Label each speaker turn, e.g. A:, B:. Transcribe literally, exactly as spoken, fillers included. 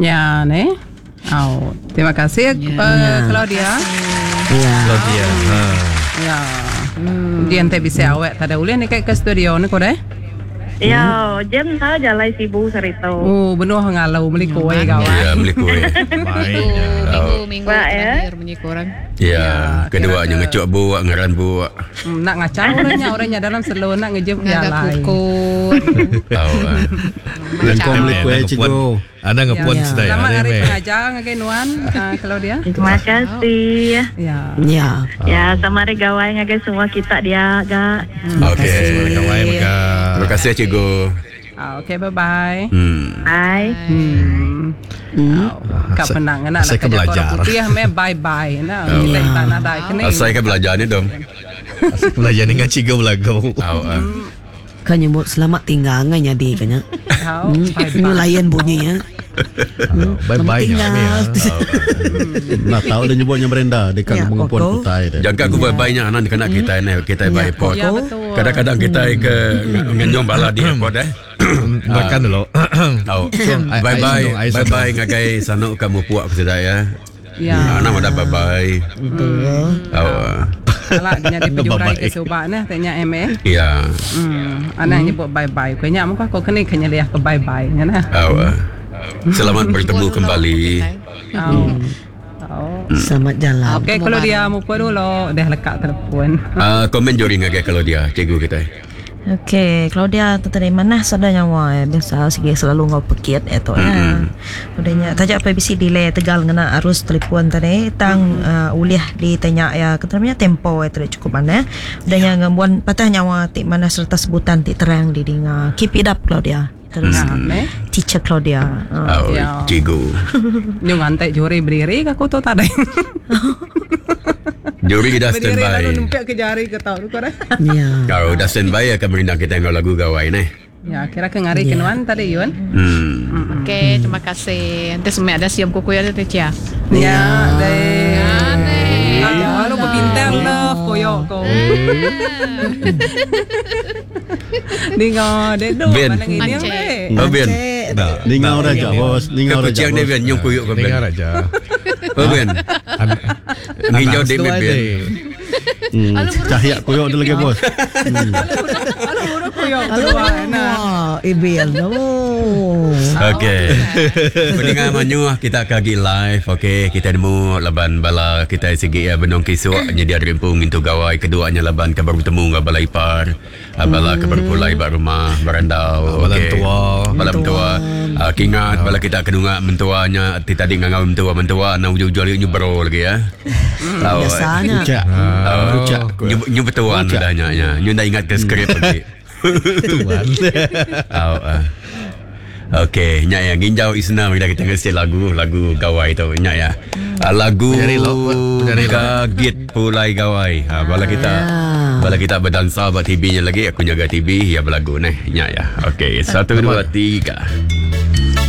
A: Ya ne. Oh, terima kasih ya. Uh, Claudia.
B: Ya.
C: Claudia. Ha.
A: Ya. Hmm. Dia ente bisa awak tak ada ulih ni ke studio ni ko deh.
D: Ya, jam ta jalai Sibu sarito.
A: Oh, benuh ngalau beli kuih kau.
E: Ya, beli kuih.
C: Baik.
F: Minggu minggu terakhir bunyi korang.
E: Ya, kedua nya ngecuk buak ngaran buak.
A: Nak ngacau orangnya orangnya dalam selo nak ngejep jalai.
E: Tahu.
G: Lengkong beli kuih cikgu.
C: Ada ngepun sedaya.
A: Selamat hari pengajar ngagai nuan Claudia.
D: Terima kasih.
A: Ya.
B: Ya.
D: Ya, sama hari gawai ngagai semua kita dia gak.
E: Okey,
C: gawai mega.
E: Terima kasih cikgu.
A: Okey, bye-bye.
E: Hmm.
D: Bye.
A: Hmm. Hmm. Kak penang nak
C: saya
A: nak
C: belajar.
A: Putih me bye-bye nah. Kita tak nak dah kena.
E: Saya kan belajar ni dong.
C: Saya belajar dengan cikgu belagu.
B: Kan nyebut selamat tinggal ngan jadi kena. Ini layan bunyinya.
C: Bye-bye nya.
G: Nak tahu dia nyebutnya Brenda dekat mengepun kutai dia.
E: Jangka aku bye-bye nya anak kena kita ni kita by airport. Kadang-kadang kita ke ngenyong bala di airport eh.
C: Makan dulu.
E: Tahu. Bye-bye. Bye-bye ngagai sanuk kamu puak ke sedaya.
A: Ya.
E: Anak ada bye-bye. Tahu.
A: Alah dia di pejurai ke subak nah tanya M eh.
E: Ya.
A: Hmm. Anak nyebut bye-bye. Kenya muka kau kena kena liah ke bye-bye nya nah.
E: Tahu. Selamat bertemu kembali.
A: Oh. Oh.
B: Selamat jalan.
A: Okey, kalau dia muka dulu dah lekat telefon.
E: Ah, uh, komen juri ngagai kalau dia cikgu kita.
H: Okey, Claudia tadi mana sada nyawa eh biasa sigi selalu ngau pekit itu eh. Udahnya tajak P B C delay tegal ngena arus telefon tadi tang mm-hmm. uh, uliah ditanya ya keteramnya tempo eh tidak cukup mana. Udahnya ngembuan patah nyawa ti mana serta sebutan ti terang didinga. Keep it up Claudia. Terus
A: hmm.
H: Teacher Claudia.
E: Uh. Oh, ya. Cikgu.
A: Nyu ngantai juri berdiri aku tu tadi.
E: Juri dah stand by.
A: Lalu numpuk ke jari ke tau tu dah.
B: Ya.
E: Kalau dah stand by akan merindang kita dengan lagu gawai ni.
A: Ya, kira ke ngari yeah. kenuan tadi Yun.
E: Hmm.
F: Okey, terima kasih. Nanti semua ada siam kuku ya teh Cia.
A: Ya, deh. Ya, lu berbintang love koyok ko. Dengar dek do mana ini eh.
E: Oh Ben.
G: Dengar raja bos, dengar raja.
E: Kucing ni Ben nyung kuyuk ko Ben.
C: Dengar raja.
E: Oh Ben. Nginjau dek Ben.
G: Cahaya kuyuk tu lagi bos.
A: Alu huruf kuyuk.
B: Alu. Ibil.
E: Okey. Pendengar manyuh kita kagi live okey kita nemu laban bala kita sigi ya benung kisuk nyedia rimpung into gawai keduanya laban ke baru bertemu dengan bala ipar bala ke baru pulai ba rumah berandau
C: bala
E: okey
C: tua
E: bala mentua kingat bala kita kedunga mentuanya ti tadi ngangau mentua mentua na ujung-ujung nyu bro lagi ya.
B: Tahu. Biasanya.
E: Nyu nyu betuan udahnya nya. Nyu dah ingat ke skrip lagi.
C: Tuan.
E: Tahu. Okey, nyak ya nginjau isna bila kita ngesi lagu lagu gawai tu nyak ya. Lagu Gagit Pulai Gawai. Ha bala kita bala kita berdansa ba T V-nya lagi aku jaga T V ya berlagu neh nyak ya. Okey, satu dua tiga.